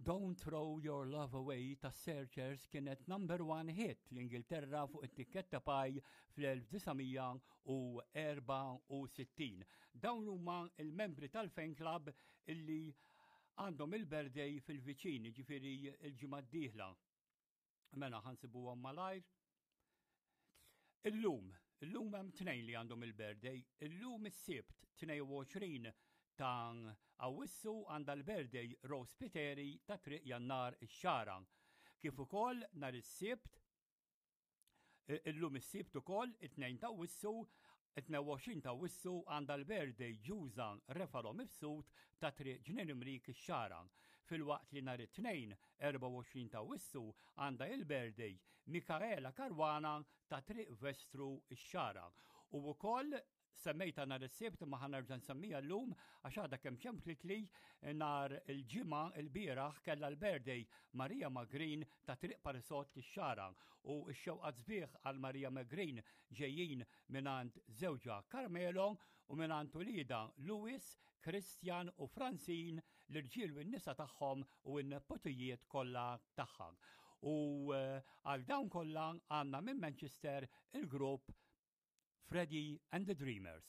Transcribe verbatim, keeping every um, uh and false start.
Don't Throw Your Love Away ta' Searchers kienet number one hit l-Ingilterra fuq it-tikketta Pye fl-elf disa' mija u erbgħa u sittin. Dawn huma il-membri tal-fan club illi għandhom il-birthday fil-viċin, ġifieri il-ġimgħa d-dieħla. Mela ħa nsibuhom malajr. Illum, illum hemm tnejn li għandhom il-birthday. Illum is-Sibt tnejn u għoxrin ta' Awissu għandha l-birthday Rose Piteri ta' Triq Jannar ix-Xagħra. Kif ukoll nhar is-Sibt, illum is-Sibt ukoll, it-tnejn ta' Awwissu, tnejn u għoxrin ta' Awwissu, għandha l-birthday Ġuża Refalo Mifsud ta' Triq Ġnien Imrik ix-Xagħra. Filwaqt li nhar it-Tnejn erbgħa u għoxrin ta' Awwissu għandha il-birthday Mikaela Karwana ta' Triq Vestru ix-Xagħra. U wkoll semmejta nhar is-Sibt ma ħa nerġa' nsemmija llum għax għadha kemm ċemplitli nhar il-Ġimgħa, il-bieraħ kellha l-birthday Maria Magrin ta' Triq Parisot ix-Xagħra, u x-xewqat sbieħ għal Maria Magrin ġejjin mingħand żewġha Carmelo u mingħand uliedha Louis, Christian u Francine, l-irġiel u n-nisa tagħhom u n-nepotijiet kollha tagħha. U eh, għal dawn kollha għandna minn Manchester il-grupp Freddie and the Dreamers.